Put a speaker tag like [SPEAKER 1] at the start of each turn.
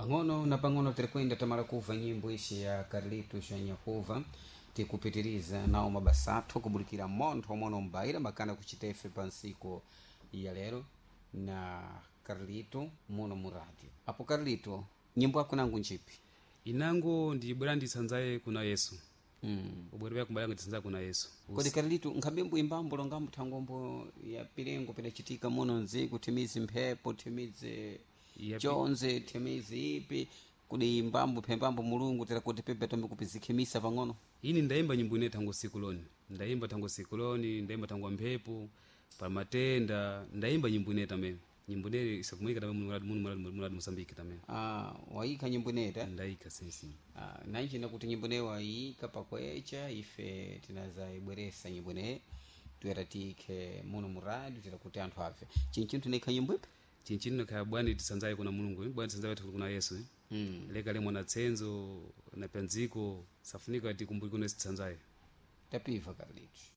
[SPEAKER 1] Pang'ono na pang'ono tirikwenda tamala kuva nyimbo ici ya Carlito Shanyakuva, tikupitiriza nawo mabasa athu kubulikira montho mono mbaira makana kuchitefe pa nsiku ya lero na Carlito muno mu radio. Apo Carlito, nyimbo yako nangu njipi?
[SPEAKER 2] Inango ndibwera ndisanzaye kuna Yesu. Ubwere bya kumbalanga ndisanzaye kuna Yesu.
[SPEAKER 1] Kodi Carlito, nkhabembo imbambo longambo thangombo ya pilengo pidachitika muno nziku, thimizi mphepo, thimizi chonze, thimizi ipi, kudi imbambo phembambo Mulungu tera kuti pepe tombe kupizikhimisa pang'ono?
[SPEAKER 2] Ini ndayimba nyimbo ine thango siku loni, ndayimba thango siku loni, ndayimba thango mphepo pa matenda, ndayimba nyimbo ine tamene, nyimbo ine isakumuyika tamene muno Mosambiki tamene.
[SPEAKER 1] Ah, wayika nyimbo ineta?
[SPEAKER 2] Ndayika sisi.
[SPEAKER 1] Ah, nanjina kuti nyimbo ineyo wayika pakwecha, ife tinazayibweresa nyimbo ineyi tuyera tiyikhe muno mu radio tera kuti anthu abve. Chinchinthu inaikha nyimbo ipi?
[SPEAKER 2] Chinchino kaya bwani tisanzaye kuna Mulungu, bwani tisanzaye kuna Yesu. Leka le mwana tsenzo na pyanziko safunika tikumbuke kuna tisanzaye.
[SPEAKER 1] Tapiva, Carlitos.